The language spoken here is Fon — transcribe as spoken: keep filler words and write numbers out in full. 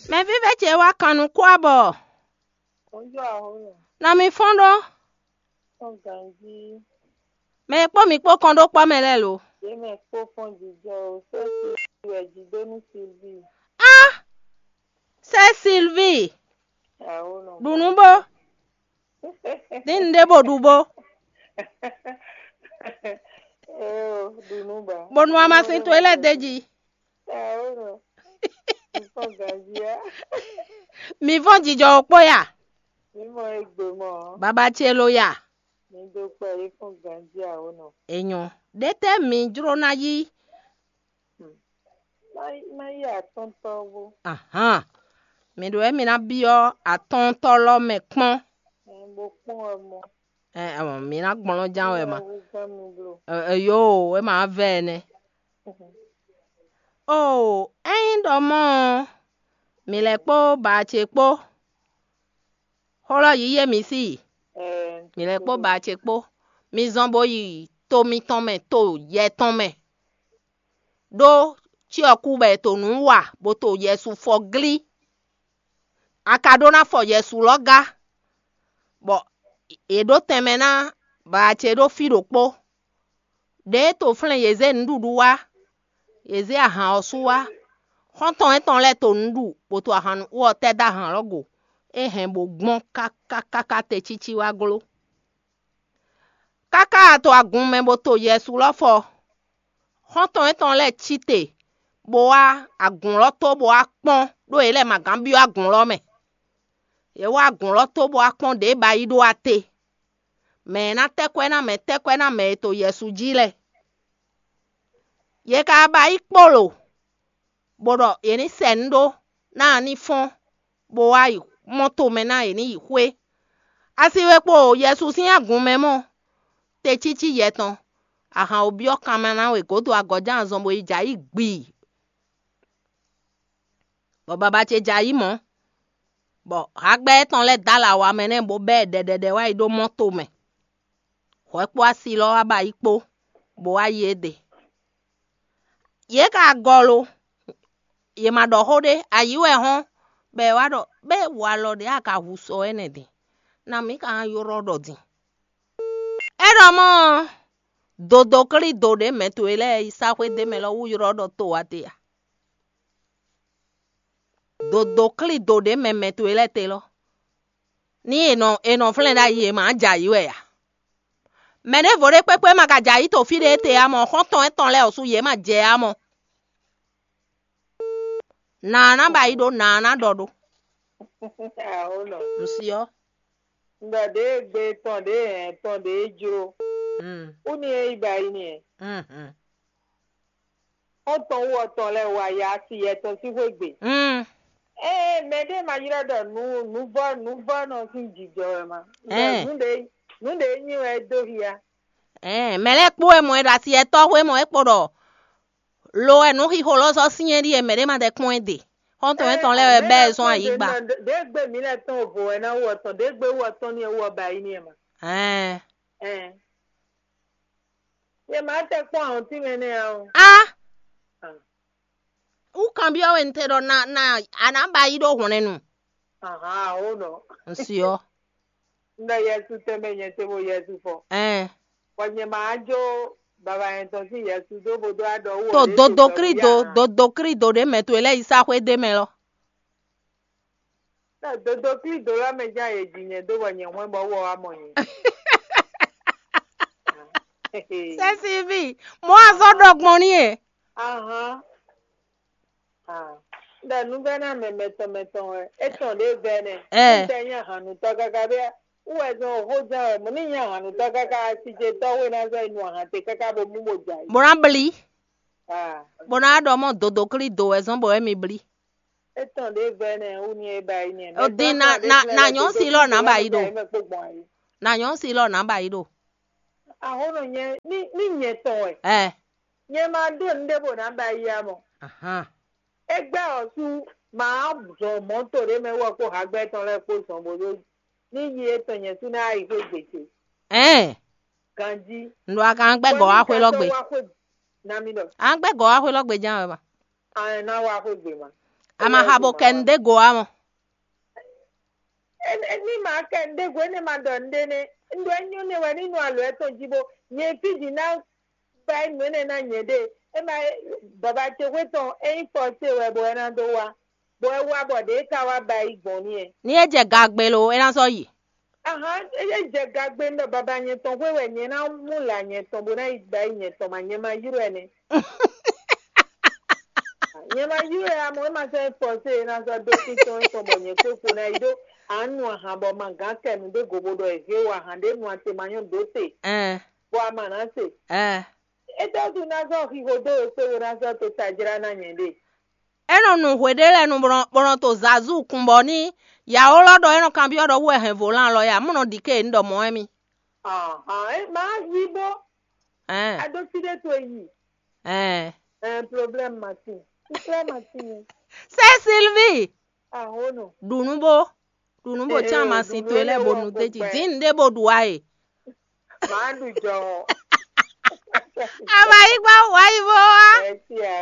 Mɛ vívɛ́ ce wá kan nukún abɔ. Nɔ mi fɔ́n ɖó. Mɛ e kpó mi kpó kɔn ɖó kpɔ́ mɛ lɛ́ɛ lo. Yě mɛ kpó fɔ́n jijɔ o, sɛ́ Sylvie wɛ jí dó nú Sylvie. Á, sɛ́ Sylvie. Ɖu nǔ bó. Dín un ɖěvo ɖu bó. Bó nú amasin towe lɛ́ɛ d'é jí. Mi fɔ́n jijɔ ɔ́ kpó ya. Baba ce lo ya. Enyɔ. Ɖětɛ́ mi jló ná yí? Má yí atɔ́ntɔ́ bó. Ahan. Mi ɖo wɛ mi ná byɔ́ atɔ́ntɔ́ lɔ mɛ kpɔ́n. Bó kpɔ́n wɛ mɔ. Ɛ, ɛ, mi ná gblɔ́n ján wɛ ma. Ɛ, ɛ, yo, é ma vɛ ɛnɛ. Oo, ényí ɖɔ mɔ̌ ɔ́, mǐ lɛ́ kpó ba ce kpó. Xó lɔ yíyí e mǐ sí i. Mǐ lɛ́ kpó ba ce kpó. Mi zɔn bó yi to mitɔn mɛ, to yɛ tɔn mɛ. Ɖó cyɔ́kú bɔ è to nǔ wa, bó to yɛsu fɔ glí. A ka ɖó ná fɔ yɛsu lɔ gá, bɔ è ɖǒ tɛnmɛ ná ba ce ɖó fí ɖokpó. Ɖěe to flɛ́n yě zé nǔɖuɖu wá, yě zé ahan ɔ́ sú wá. Xɔ́ntɔn étɔn lɛ́ɛ to nǔ ɖu, bó to ahan nú ɔ́ tɛ́ dó ahan lɔ́ go. É hɛn bó gbɔn káká káká te cící wá gló. Káká a to agun mɛ bó to yɛsu lɔ fɔ. Xɔ́ntɔn étɔn lɛ́ɛ cí te, bó wá agun lɔ tó bó wá kpɔ́n, ɖó yě lɛ́ ma gán byɔ́ agun lɔ mɛ. Yě wá agun lɔ tó bó wá kpɔ́n ɖě ba yi ɖó ate. Mɛ e ná tɛ́ kwɛ́ ná mɛ tɛ́ kwɛ́ ná mɛ e to yɛsu jí lɛ́ɛ. Yě ka ba yi kpolo, bó ɖɔ yě ní sɛ nǔ ɖó ná a ní fɔ́n, bó wá yi mɔ tomɛ ná yě ní yi xwé. Asi we kpo yɛsu sín agun mɛ mɔ, te cící yɛ tɔn, ahan wǒ byɔ́ kanma ná we gǒdo agɔ̌ján azɔn bó yi jɛ ayǐ gbii. Bɔ baba ce jɛ ayǐ mɔ̌, bɔ hagbɛ́ étɔn lɛ́ɛ dó alɔ awa mɛ nɛ́ bó bɛ́ ɛ ɖɛɖɛɖɛ wá yi ɖó mɔ tomɛ. Hwɛ kpó asi lɔ wá ba yi kpó, bó wá yi éɖe. Yě ka gɔ lo, yě ma ɖɔ xó ɖé, ayǐ wɛ hɔ́n, bɔ è wá ɖɔ bɛ́ walɔ ɖě a ka hu sɔ ɛnɛ din, na mǐ ka ylɔ́ ɖɔ din. É ɖɔ mɔ̌ ɔ́, dodoklído ɖě mɛ towe lɛ́ɛ yi sá xwé d'é mɛ lɔ wú ylɔ́ ɖɔ to wá te a? Dodoklído ɖě mɛ mɛ towe lɛ́ɛ te lɔ. Ní è nɔ è nɔ flɛ́n ɖ'ayǐ è mǎ jɛ ayǐ wɛ a? Mɛ ɖěvo ɖé kpékpé ma ka jɛ ayǐ to fí ɖé te ǎ mɔ, xɔ́ntɔn étɔn lɛ́ɛ ɔ́ sú yě ma jɛ ǎ mɔ. Nǎ ná ba yi ɖó, nǎ ná ɖɔ ɖó. Awo nɔ. Un si ɔ́. Un ɖɔ ɖěe gbe tɔn ɖěe hɛn tɔn ɖěe jló. Mm. Ú ni e yi ba yi ni ɛ. Mm, mm. Xɔ́ntɔn wú ɔtɔn lɛ́ɛ wa ya asi yɛtɔn sín xwé gbe. Mm. Ée mɛ ɖé ma ylɔ́ ɖɔ nǔ nǔvɔ́ nǔvɔ́nɔ sín jijɔ wɛ ma. Un ɖɔ Ɛɛ. Nǔ ɖé nǔ ɖé nyí wɛ é dó hia. Ɛɛ, mɛ lɛ́ɛ kpó wɛ mɔ ɛ ɖo asi yɛtɔn xwé mɔ é kpo ɖɔ lo wɛ nǔ xixo lɔ sɔ́ syɛ́n ɖíe mɛ ɖé ma ɖɛ kpɔ́n ɛ ɖe. Xɔ́ntɔn étɔn lɛ́ɛ wɛ bɛ́ ɛ zɔn ayǐgba. Ɖě gbe mǐ lɛ́ tɔn vo wɛ ná wú ɔtɔn, ɖě gbe wú ɔtɔn ní ɛ wú ɔba yi ní ɛ ma. Ɛɛ. Ɛɛ. Yě má tɛ kpɔ́n ahɔ̌ntí mɛ nɛ́ ǎ o. Á! Wú kanbyɔ́ wɛ un te ɖɔ na na a nǎ ba yi ɖó hwlɛ́nnu. Ahan, ó nɔ. Un si ɔ́. Un ɖɔ Yɛsu tɛnmɛ nyɛ te bo Yɛsu fɔ. Ɛɛ. Bɔ nyɛ ma jó baba nyɛ tɔn sín Yɛsu dó bo dó aɖɔ wú To ɔ́ ɖě dodo te Krido, dɔ̌n dodo Krido ɖě mɛ towe lɛ́ɛ yi sá xwé ɖé mɛ lɔ. Ná dodo Krido lɔ mɛ ján yě ji nyɛ dó bɔ nyɛ hwɛ́n bɔ wɔ wá mɔ nyɛ. Sɛsivi, mɔ azɔ ɖɔ gbɔn ní e. Ahan. Ah. Ɖɔ nuvɛ́ná mɛ mɛtɔn mɛtɔn wɛ. Étɔn ɖě vɛ́ nɛ. Ɛ. Ŋutɛ nyí ahannutɔ káká bia. Wú wɛ zɔn xó ján wɛ. Mɔ ní nyí ahannutɔ káká asijɛtɔ́ wé ná zɔ́ yi nu ahan te káká bo mú bo jɛ ayǐ. Bó ná blí. Ah. Bó ná ɖɔ mɔ dodo Krido wɛ zɔn bɔ wɛ mi blí. Étɔn ɖě vɛ́ nɛ wú ní é ba yi nɛ. O dín na na na nyɔ̌ si lɔ nǎ ba yi ɖo. Mɛ kpó gbɔn ayǐ. Na nyɔ̌ si lɔ nǎ ba yi ɖo. Ahónɔ nyɛ ní ní nyɛ tɔn wɛ. Ɛ. Nyɛ ma ɖó nǔɖé bó ná ba yi amɔ. Ahan. Égbɛ́ ɔ́ sú ma zɔn mɔ̌to ɖé mɛ wɔ kó hagbɛ́ tɔn lɛ́ɛ kpó zɔn bó ɖó ní yi étɔn nyɛ sú ná yi xwé gbe ce. Ɛn. Ganjí. Ndo a kan gbɛ gɔ wá xwé lɔ gbe. Wá xwé na mi ɖɔ. A gbɛ gɔ wá xwé lɔ gbe ján wɛ ma. An ná wá xwé gbé ma. A ma xa bo kɛ nu ɖé go ǎ mɔ. Ní ma kɛ nu ɖé go énɛ́ ma ɖɔ nu ɖé nɛ́. Un ɖɔ é nyɔ́ nɛ́ wɛ ní nu alɔ ɛ tɔn jí bó nyɛ fí jí ná ba nǔ énɛ́ ná nyɛ ɖe. É ma baba ce xwé tɔn é nyí fɔsé wɛ bɔ é ná dó wá. Bɔ é wá bɔ ɖě ka wá ba yi gbɔn n'i ɛ. Ní é jɛ gagbe lo, é ná sɔ́ yi. Ahan, é jɛ gagbe nɔ baba nyɛ tɔn xwé wɛ nyɛ ná mú la nyɛ tɔn bó ná yi ba yi nyɛ tɔn ma nyɛ ma yrɔ ɛ nɛ. Nyɛ ma yrɔ ɛ amɔ é ma sɛ fɔsé é ná sɔ́ dó títɔn é tɔn bɔ nyɛ kpékpo ná yi ɖó. Anu ahan bɔ ma gán kɛ nu ɖé go bó ɖɔ é hé wa ahan ɖé nu ate ma nyɔ dó te. Ɛn. Bɔ a ma ná se. Ɛn. É tɔ́ tu ná sɔ́ xixo dó é kpé bó ná sɔ́ to tajlá ná nyɛ ɖe. É nɔ nu hwe ɖé lɛ́ɛ nu bó nɔ to zazú kun bɔ ní yǎwólɔ́ ɖɔ é nɔ kanbyɔ́ ɖɔ wú wɛ hɛn volan lɔ ya mú nɔ ɖi ké un ɖɔ mɔ̌ wɛ mì. Ahan, é ma yí bó. Ɛn. A ɖó fí ɖé towe yi. Ɛn. Ɛn, problème matin. Problème matin. C'est Sylvie. Ahono. Ɖu nú bó ɖu nú bó cán ma sin towe lɛ́ɛ bó nu d'é jí dín nu ɖé bó ɖu wá e. Màá ɖu jɔ. A ma yí gbá wǎ yi bó wá. Ɛ sí a.